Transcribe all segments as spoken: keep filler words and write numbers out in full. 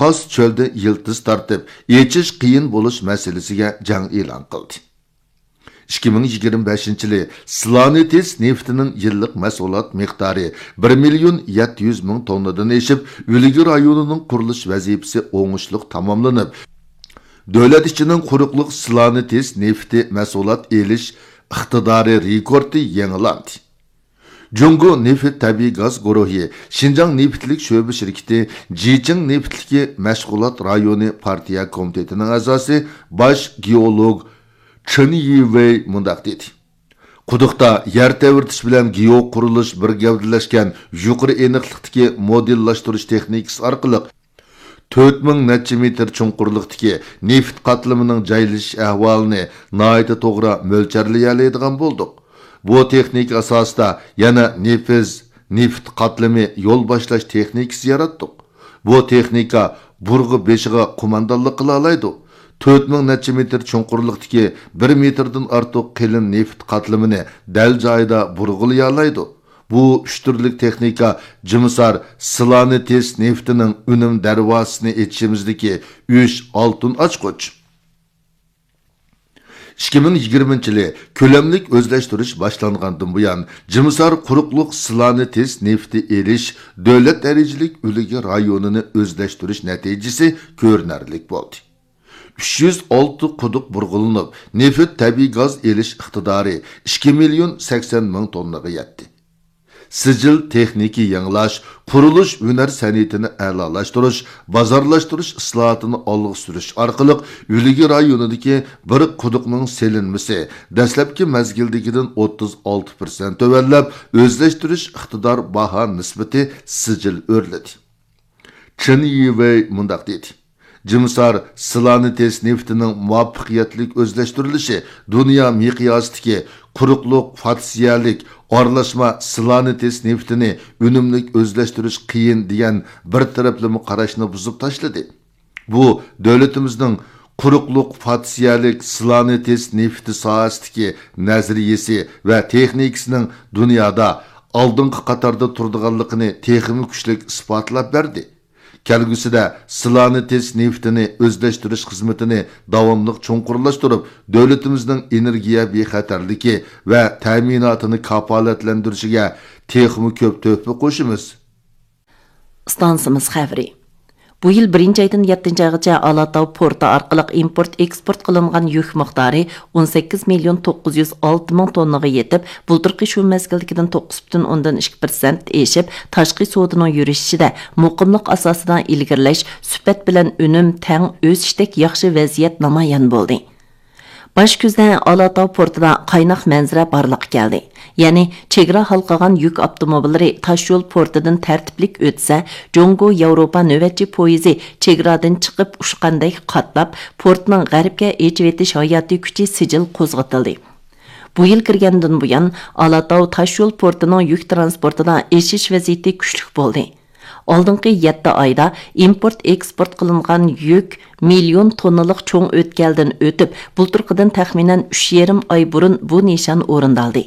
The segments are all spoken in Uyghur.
قاس چۆلدە يىلتىز تارتىپ، ئېچىش قىيىن بولۇش مەسىلىسىگە جەڭ ئېلان قىلدى. ئىككى مىڭ يىگىرمە بەشىنچى يىلى سلانېتس نېفىتىنىڭ يىللىق مەھسۇلات مىقدارى بىر مىليون يەتتە يۈز مىڭ توننىدىن ئېشىپ، ئۈلگە رايونىنىڭ قۇرۇلۇش ۋەزىپىسى ئوڭۇشلۇق تاماملىنىپ، دۆلەت ئىچىنىڭ قۇرۇقلۇق سلانېتس نېفىتى مەھسۇلات ئېلىش ئىقتىدارى رېكورتى يېڭىلاندى. جۇڭگو نېفىت تەبىئىي گاز گۇرۇھى شىنجاڭ نېفىتلىك شۆبە شىركىتى جىچىڭ نېفىتلىكى مەشغۇلات رايونى پارتىيە كومىتېتىنىڭ ئەزاسى، باش گېئولوگ چېن يىۋېي مۇنداق دېدى: قۇدۇقتا يەر تەۋرىتىش بىلەن گېئو قۇرۇلۇش بىر گەۋدىلەشكەن يۇقىرى ئېنىقلىقتىكى مودېللاشتۇرۇش تېخنىكىسى ئارقىلىق تۆت مىڭ نەچچە مېتىر چوڭقۇرلۇقتىكى نېفىت قاتلىمىنىڭ جايلىشىش ئەھۋالىنى ناھايىتى توغرا مۆلچەرلىيەلەيدىغان بولدۇق. بۇ تېخنىكا ئاساسىدا يەنە نېفىز، نېفىت قاتلىمى يول باشلاش تېخنىكىسى ياراتتۇق. بۇ تېخنىكا بۇرغا بېشىغا قوماندانلىق قىلالايدۇ. تۆت مىڭ نەچچە مېتىر چوڭقۇرلۇقتىكى بىر مېتىردىن ئارتۇق قېلىن نېفىت قاتلىمىنى دەل جايىدا بۇرغىلىيالايدۇ. بۇ ئۈچ تۈرلۈك تېخنىكا جىمىسار سلانېتس نېفىتىنىڭ ئۈنۈم دەرۋازىسىنى ئېچىشىمىزدىكى ئۈچ ئالتۇن ئاچقۇچ. ئىككى مىڭ يىگىرمىنچى يىلى كۆلەملىك ئۆزلەشتۈرۈش باشلانغاندىن بۇيان، جىمىسار قۇرۇقلۇق سلانېتس نېفىتى ئېلىش دۆلەت دەرىجىلىك ئۈلگە رايونىنى ئۆزلەشتۈرۈش نەتىجىسى كۆرۈنەرلىك بولدى. ئۈچ يۈز ئالتە قۇدۇق بۇرغىلىنىپ، نېفىت تەبىئىي گاز ئېلىش ئىقتىدارى ئىككى مىليون سەكسەن مىڭ توننىغا يەتتى. سىجىل تېخنىكا يېڭىلاش، قۇرۇلۇش ھۈنەر سەنئىتىنى ئەلالاشتۇرۇش، بازارلاشتۇرۇش ئىسلاھاتىنى ئالغا سۈرۈش ئارقىلىق ئۈلگە رايونىدىكى بىر قۇدۇقنىڭ سېلىنمىسى دەسلەپكى مەزگىلدىكىدىن ئوتتۇز ئالتە پىرسەنت تۆۋەنلەپ، ئۆزلەشتۈرۈش ئىقتىدار باھا نىسبىتى سىجىل ئۆرلىدى. چېن يىۋېي مۇنداق دېدى: جىمىسار سلانېتس نېفىتىنىڭ مۇۋەپپەقىيەتلىك ئۆزلەشتۈرۈلۈشى دۇنيا مىقياسىدىكى قۇرۇقلۇق فاتسىيەلىك ئارىلاشما سلانېتس نېفىتىنى ئۈنۈملۈك ئۆزلەشتۈرۈش قىيىن دېگەن بىر تەرەپلىمە قاراشنى بۇزۇپ تاشلىدى. بۇ دۆلىتىمىزنىڭ قۇرۇقلۇق فاتسىيەلىك سلانېتس نېفىتى ساھەسىدىكى نەزەرىيىسى ۋە تېخنىكىسىنىڭ دۇنيادا ئالدىنقى قاتاردا تۇرىدىغانلىقىنى تېخىمۇ كۈچلۈك ئىسپاتلاپ بەردى. كەلگۈسىدە سلانېتس نېفىتىنى ئۆزلەشتۈرۈش خىزمىتىنى داۋاملىق چوڭقۇرلاشتۇرۇپ، دۆلىتىمىزنىڭ ئېنېرگىيە بىخەتەرلىكى ۋە تەمىناتىنى كاپالەتلەندۈرۈشىگە تېخىمۇ كۆپ تۆھپە قوشىمىز. ئىستانسىمىز خەۋىرى. بۇ يىل بىرىنچى ئايدىن يەتتىنچى ئايغىچە ئالاتاۋ پورتى ئارقىلىق ئىمپورت ئېكسپورت قىلىنغان يۈك مىقدارى ئون سەككىز مىليون توققۇز يۈز ئالتە مىڭ توننىغا يېتىپ، بۇلتۇرقى شۇ مەزگىلدىكىدىن توققۇز پۈتۈن ئوندىن ئىككى پىرسەنت ئېشىپ، تاشقى سودىنىڭ يۈرۈشۈشىدە مۇقىملىق ئاساسىدا ئىلگىرىلەش، سۈپەت بىلەن ئۈنۈم تەڭ ئۆسۈشتەك ياخشى ۋەزىيەت نامايان بولدى. باش كۈزدە ئالاتاۋ پورتىدا قايناق مەنزىرە بارلىققا كەلدى. يەنى چېگرا ھالقىغان يۈك ئاپتوموبىللىرى تاشيول پورتىدىن تەرتىپلىك ئۆتسە، جۇڭگو ياۋروپا نۆۋەتچى پويىزى چېگرادىن چىقىپ ئۇچقاندەك قاتناپ، پورتنىڭ غەربكە ئېچىۋېتىش ھاياتىي كۈچى سىجىل قوزغىتىلدى. بۇ يىل كىرگەندىن بۇيان، ئالاتاۋ تاشيول پورتىنىڭ يۈك تىرانسپورتىدا ئېشىش ۋەزىيىتى كۈچلۈك بولدى. ئالدىنقى يەتتە ئايدا ئىمپورت ئېكسپورت قىلىنغان يۈك مىليون توننىلىق چوڭ ئۆتكەلدىن ئۆتۈپ، بۇلتۇرقىدىن تەخمىنەن ئۈچ يېرىم ئاي بۇرۇن بۇ نىشان ئورۇندالدى.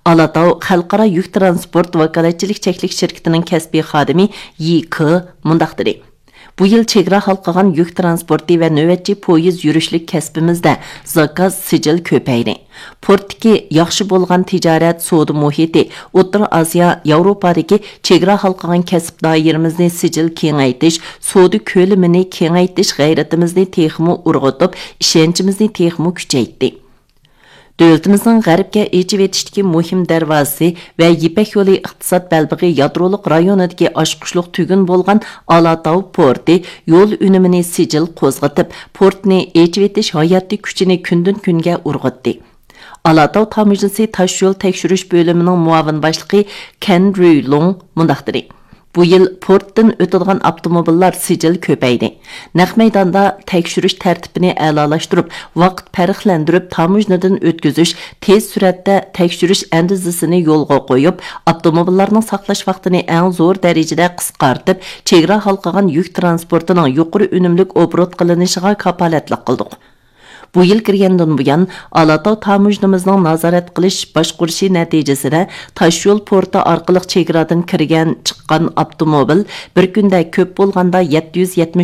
ئالاتاۋ خەلقئارا يۈك تىرانسپورت ۋاكالەتچىلىك چەكلىك شىركىتىنىڭ كەسپىي خادىمى يى كې مۇنداق دېدى: بۇ يىل چېگرا ھالقىغان يۈك تىرانسپورتى ۋە نۆۋەتچى پويىز يۈرۈشلۈك كەسپىمىزدە زاكاز سىجىل كۆپەيدى. پورتتىكى ياخشى بولغان تىجارەت، سودا مۇھىتى، ئوتتۇرا ئاسىيا، ياۋروپادىكى چېگرا ھالقىغان كەسىپ دائىرىمىزنى سىجىل كېڭەيتىش، سودا كۆلىمىنى كېڭەيتىش غەيرىتىمىزنى تېخىمۇ ئۇرغۇتۇپ، ئىشەنچىمىزنى تېخىمۇ كۈچەيتتى. دۆلىتىمىزنىڭ غەربكە ئېچىۋېتىشتىكى مۇھىم دەرۋازىسى ۋە يىپەك يولى ئىقتىساد بەلبېغى يادرولۇق رايونىدىكى ئاچقۇچلۇق تۈگۈن بولغان ئالاتاۋ پورتى يول ئۈنۈمىنى سىجىل قوزغىتىپ، پورتنى ئېچىۋېتىش ھاياتىي كۈچىنى كۈندىن كۈنگە ئۇرغۇتتى. ئالاتاۋ تاموژنىسى تاشيول تەكشۈرۈش بۆلۈمىنىڭ مۇئاۋىن باشلىقى كەن رۈيلۇڭ مۇنداق دېدى: بۇ يىل پورتتىن ئۆتىدىغان ئاپتوموبىللار سىجىل كۆپەيدى. نەق مەيداندا تەكشۈرۈش تەرتىپىنى ئەلالاشتۇرۇپ، ۋاقىت پەرقلەندۈرۈپ تاموژنىدىن ئۆتكۈزۈش، تېز سۈرئەتتە تەكشۈرۈش ئەندىزىسىنى يولغا قويۇپ، ئاپتوموبىللارنىڭ ساقلاش ۋاقتىنى ئەڭ زور دەرىجىدە قىسقارتىپ، چېگرا ھالقىغان يۈك تىرانسپورتىنىڭ يۇقىرى ئۈنۈملۈك ئوبوروت قىلىنىشىغا كاپالەتلىك قىلدۇق. بۇ يىل كىرگەندىن بۇيان، ئالاتاۋ تاموژنىمىزنىڭ نازارەت قىلىش باشقۇرۇشى نەتىجىسىدە، تاشيول پورتى ئارقىلىق چېگرادىن كىرگەن، چىققان ئاپتوموبىل بىر كۈندە كۆپ بولغاندا يەتتە يۈز يەتمىش